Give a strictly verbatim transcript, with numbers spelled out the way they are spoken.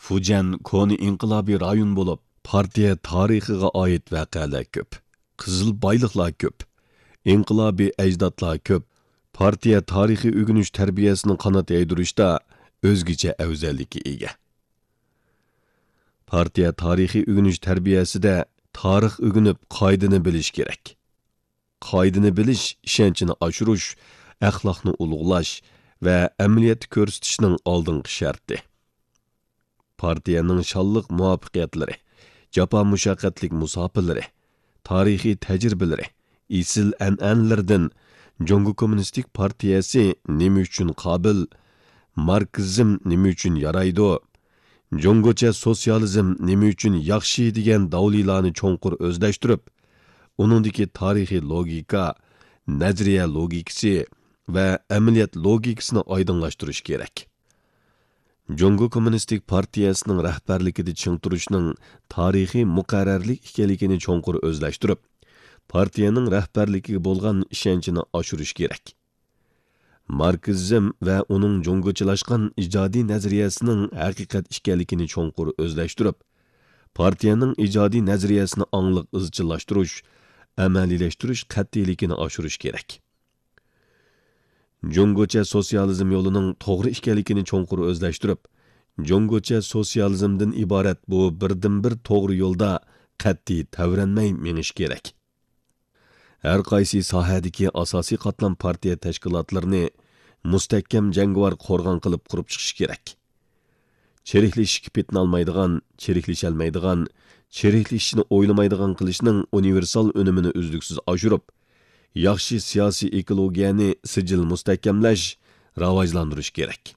فۇجيەن كونا ئىنقىلابىي رايون بولۇپ، پارتىيە تارىخىغا ئائىت ۋەقەلەر كۆپ، قىزىل بايلىقلار كۆپ، ئىنقىلابىي ئەجدادلار كۆپ، پارتىيە تارىخىي ئۆگىنىش تەربىيەسىنىڭ قانات يايدۇرۇشتا ئۆزگىچە ئەۋزەللىككە ئىگە. پارتىيە تارىخىي ئۆگىنىش تەربىيەسىدە تارىخ ئۆگىنىپ، قائىدىنى بىلىش كېرەك. قائىدىنى بىلىش ئىشەنچنى ئاشۇرۇش، ئەخلاقنى ئۇلۇغلاش ۋە ئەمەلىيەتتە كۆرسىتىشنىڭ ئالدىنقى شەرتى. پارتىيەنىڭ شانلىق مۇۋەپپەقىيەتلىرى، جاپا مۇشەققەتلىك مۇساپىلىرى، تارىخىي تەجرىبىلىرى، ئېسىل ئەنئەنىلىرىدىن جۇڭگو كوممۇنىستىك پارتىيەسى نېمە ئۈچۈن قابىل، ماركسىزم نېمە ئۈچۈن يارايدۇ، جۇڭگوچە سوتسىيالىزم نېمە ئۈچۈن ياخشى دېگەن داۋلىلارنى چوڭقۇر ئۆزلەشتۈرۈپ، ئۇنىڭدىكى تارىخىي لوگىكا، نەزەرىيە لوگىكىسى ۋە ئەمەلىيەت لوگىكىسىنى ئايدىڭلاشتۇرۇش كېرەك. جۇڭگو كوممۇنىستىك پارتىيەسىنىڭ رەھبەرلىكىدە چىڭ تۇرۇشنىڭ تارىخىي مۇقەررەرلىك ئىكەنلىكىنى چوڭقۇر ئۆزلەشتۈرۈپ، پارتىيەنىڭ رەھبەرلىكىگە بولغان ئىشەنچىنى ئاشۇرۇش كېرەك. ماركسىزم ۋە ئۇنىڭ جۇڭگوچىلاشقان ئىجادىي نەزەرىيەسىنىڭ ھەقىقەت ئىكەنلىكىنى چوڭقۇر ئۆزلەشتۈرۈپ، پارتىيەنىڭ ئىجادىي نەزەرىيەسىنى ئاڭلىق ئىزچىللاشتۇرۇش، ئەمەلىيلەشتۈرۈش قەتئىيلىكىنى ئاشۇرۇش كېرەك. جۇڭگوچە سوتسىيالىزم يولىنىڭ توغرا ئىكەنلىكىنى چوڭقۇر ئۆزلەشتۈرۈپ، جۇڭگوچە سوتسىيالىزمدىن ئىبارەت بۇ بىردىنبىر توغرا يولدا قەتئىي تەۋرەنمەي مېڭىش كېرەك. ھەر قايسى ساھەدىكى ئاساسىي قاتلام پارتىيە تەشكىلاتلىرىنى مۇستەھكەم جەڭگىۋار قورغان قىلىپ قۇرۇپ چىقىش كېرەك. چىرىكلىشىشكە پېتىنالمايدىغان، چىرىكلىشەلمەيدىغان، چىرىكلىشىشنى ئويلىمايدىغان قىلىشنىڭ ئۇنىۋېرسال ئۈنۈمىنى ئۈزلۈكسىز ئاشۇرۇپ، ياخشى سىياسىي ئېكولوگىيەنى سىجىل مۇستەھكەملەش، راۋاجلاندۇرۇش كېرەك.